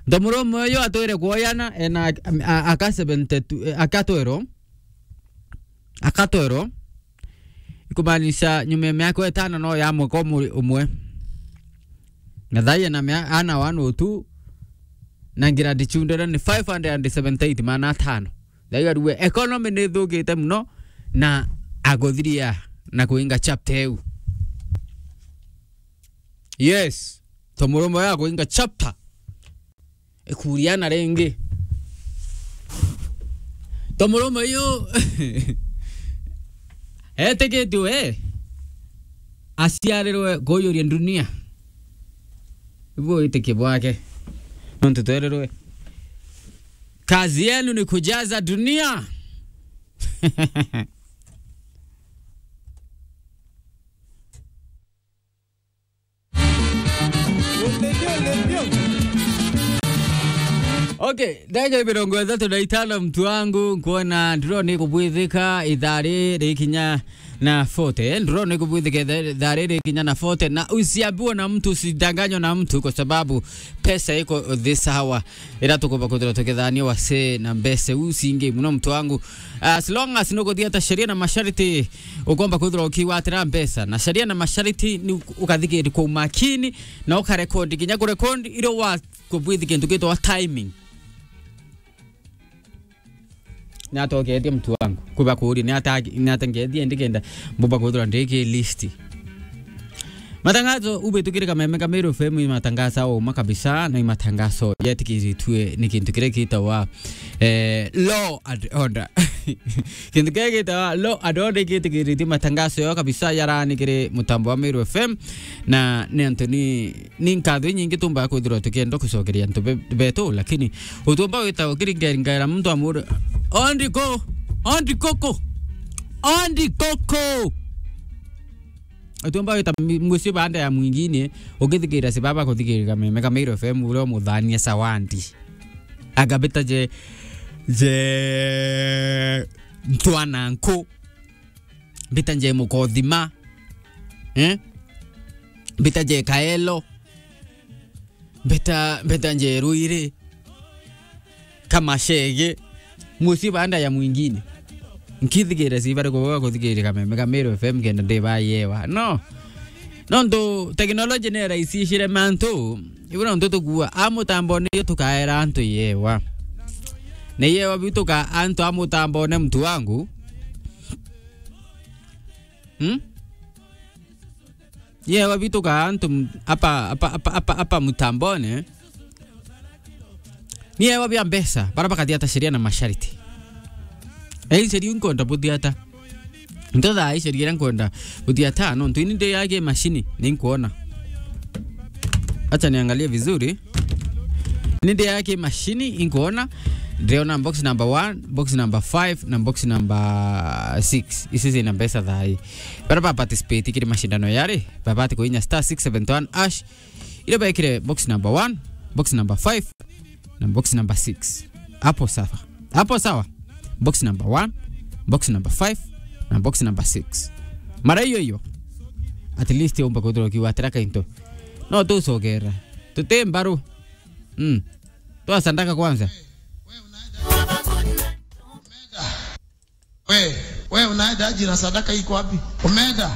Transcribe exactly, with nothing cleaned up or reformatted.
Nto murume uyu atwire kuoyana, ena a-, a-, aka seventy-two, eh, aka twero. Aka twero. Ikumaanisha nyuma ya miaka itano no ya mwaka umwe, umwe. Na thai ena mia-, ana one oh two, na ngira ndichundere ni five hundred and seventy-eight maana atano. Thai arue economy ni thukite muno, na aguthiria na kuinga chapter eu. Yes. To murume ya kuinga chapter. Ikuria na ringi. To murume uyu etikitue aciarirwe kuujuria dunia. Ibu witikie bwake. Nontu twerirwe, kazi yenu ni kujaza dunia. Okay, ndagika mirongo ithatu na itano, mtu wangu, nkuona nduroni kubwithika ithari rikinya na forty. Nduroni kubwithika itha-, ithari rikinya na forty, na usiambiwe na mtu, usidanganywe na mtu, kwa sababu pesa iko this hour. Ira tukumba kwithirwa tukithania wase na mbeca iu cingi muno, mtu wangu. As long as nukuthia ta sheria na masharti, ukomba kwithirwa ukigwatira mbeca. Na sheria na masharti ni ukathikiri kwa umakini, na ukarekondi, kinya kurekondi iro wa kubwithi kintu gitwa timing. Ni atoketie mtu wangu. Kuba kuuria, ni ata-, ni ata ngeethia ndikenda mbumba kwithirwa ndiki list. Matangazo ubitukire Kameme ka Meru F M, i matangazo uma kabisa, na i matangazo yetikiritue ni kintu kiria gitawa, eh, law and order. Kintu kiria gitawa law and order gitikiritie matangazo yo kabisa yarani kiri mutambo wa Meru F M, na ni antu ni Ni nkatho inyingi tumbaga kwithirwa tukienda gucokeria antu be-, betu, lakini utumba wita ukiringaringaira muntu amuri, "Ondi ku? Ondi kuku? Ondi kuku?" Utumba wita mi-, mucii baanda ya mwingine, ukithikira si baba kuthikirira Kameme ka Meru F M, uria umuthania Sawandi. Agabita je, je ntwana nku. Mbita nje Mukothima. Eh? Mbita nje Kaelo. Mbita, mbita nje Ruiri. Kamashege. Mucii baanda ya mwingine. Nkithikira si bari kuboga kuthikira Kameme ka Meru F M kenda ndi bayewa. No. Nontu technology ni iraisishire mantu. Ibu nontu tukua a mutambone iyo tukaera antu yewa. Ni yewa biu tuka antu a mutambone, mtu wangu. Hmm? Yewa bitu ka antu m-, apa, apa, apa, apa, apa mutambone. Ni yewa bia mbeca, bara bakathia ta sheria na masharti. Eh, sheria nkwenda buthia ta. Nto thaa hii sheria iria nkwenda buthia ta, nontu ini ndi yake mashini, ni nkwona. Acha niangalie vizuri. Ni ndi yake mashini, inkuona. Ndiriona box number one, box number five, na box number six. Ici zina mbeca thaa hii. Bara ba participate kiri mashindano yari, babati kuinya star six seven one hash. Ile bekire box number one, box number five, na box number six. Hapo sawa. Hapo sawa. Box number one, box number five, na box number six. Mara hiyo hiyo. At least umba kuthirwa ukiwatira kainto. No tucogera. Tuti mbaru. Mm. Toa sadaka kwanza. We, we unaenda aje na sadaka iko wapi? Umeenda?